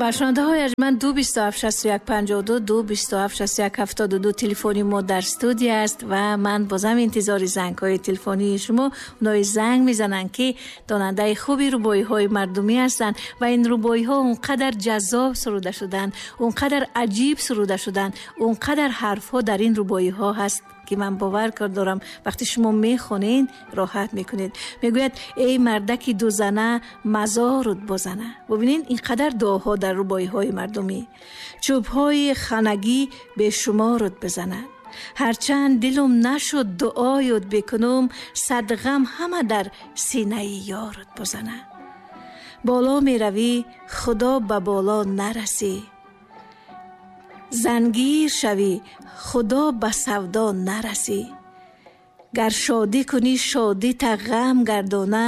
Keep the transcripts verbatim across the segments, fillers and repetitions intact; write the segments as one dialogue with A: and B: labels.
A: Ва шунавандаҳои арҷманд, ду бисту ҳафт шасту як панҷоҳу ду, ду бисту ҳафт шасту як ҳафтоду ду телефони мо дар студия аст ва ман бозам интизори зангҳои телефонии шумо. Онои занг мезананд, ки донандаи хуби рубоиҳои мардумӣ ҳастанд ва ин рубоиҳо он қадар ҷаззоб суруда шуданд, он қадар аҷиб суруда шуданд, он қадар ҳарфҳо дар ин рубоиҳо ҳаст, ки ман бовар дорам вақте шумо мехонед роҳат мекунед. Мегӯяд: эй мардаки дузана, мазорут бозана. Бубинед, ин қадар дуоҳо дар рубоиҳои мардумӣ. Чӯбҳои ханагӣ бешуморут бизанад. Ҳарчанд дилум нашуд дуоют бикунум, сад ғам ҳама дар синаи ёрут бозанад. Боло меравӣ, худо ба боло нарасӣ. Зангир шавӣ, худо ба савдо нарасӣ. Гар шодӣ кунӣ, шодита ғам гардона,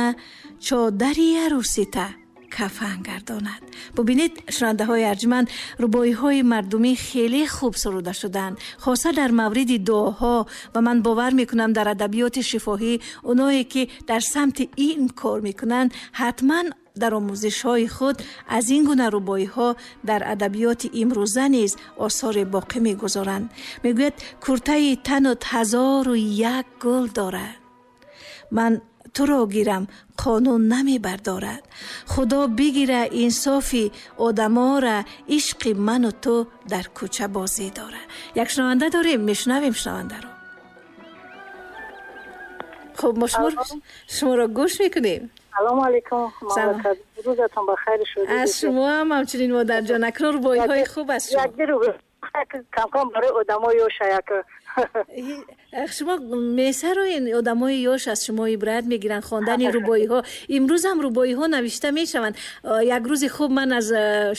A: чодари арӯсита кафан гардонад. Бубинед, шунавандаҳои арҷманд, рубоиҳои мардумӣ хеле хуб суруда шуданд, хоса дар мавриди дуоҳо. Ва ман бовар мекунам, дар адабиёти шифоҳӣ оное ки дар самти ин кор мекунанд, ҳатман дар омӯзишҳои худ аз ин гуна рубоиҳо дар адабиёти имрӯза низ осоре боқӣ мегузоранд. Мегӯяд: куртаи танут ҳазору як гул дорад, ман туро гирам қонун намебардорад. Худо бигира инсофи одамора, ишқи ману ту дар кӯча бозӣ дорад. Як шунаванда дорем, мешунавем шунавандаро. Хуб, мо шуморо гӯш мекунем.
B: Салом алейкум, рӯзатон бахайр шуд.
A: Аз шумо ҳам ҳамчунин, модарҷон. Акнун рубоиҳои хуб аз шумо.
B: Як кам-кам барои одамои ёш як.
A: Шумо месароен, одамои ёш аз шумо ибрат мегиранд хондани рубоиҳо. Имрӯз ҳам рубоиҳо навишта мешаванд. Як рӯзи хуб ман аз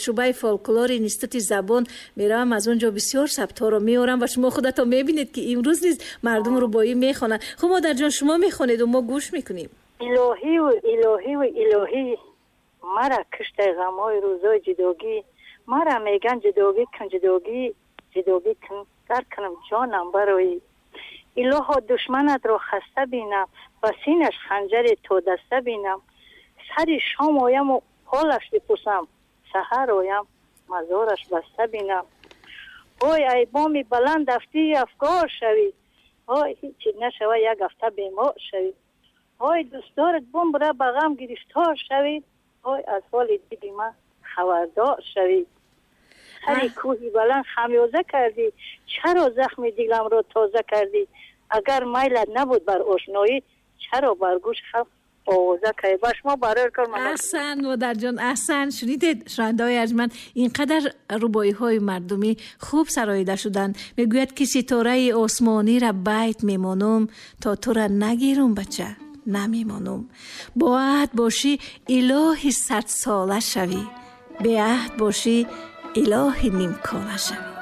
A: шӯъбаи фолклори институти забон меравам, аз он ҷо бисёр сабтҳоро меорам ва шумо худатон мебинед, ки имрӯз низ мардум рубоӣ мехонанд. Хуб, модарҷон, шумо мехонеду мо гӯш мекунем.
B: Илоҳиву илоҳиву илоҳӣ, мара киштай ғамҳои рӯзои ҷудогӣ, мара меган ҷудогӣ кун, ҷудогӣ, ҷудогӣ кун, гар кунам ҷонам барои. Илоҳо, душманатро хаста бинам, ба синаш ханҷаре то даста бинам, сари шом ояму ҳолаш бипурсам, саҳар оям мазораш баста бинам. Ой, ай боми баланд афтӣ афгор шавӣ, ой ҳичи нашава як ҳафта бемор шавӣ, ой дӯстдорат бумбура ба ғам гирифтор шавӣ, ой аз ҳоли дили ман хабардор шавӣ. Сари кӯҳи баланд хамёза кардӣ, чаро захми диламро тоза кардӣ? Агар майлат набуд бар ошноӣ, чаро бар гӯш халқ овоза кардӣ? Ба шумо барои кор ман.
A: Аҳсан, модарҷон, аҳсан. Шунидед, шунавандаҳои арҷманд, ин қадар рубоиҳои мардумӣ хуб сароида шуданд. Мегӯяд ки ситораи осмониро байт мемонум, то тура нагирум, бача намемонум. Бо аҳд бошӣ, илоҳи садсола шавӣ, беаҳд бошӣ, илоҳи нимкола шавӣ.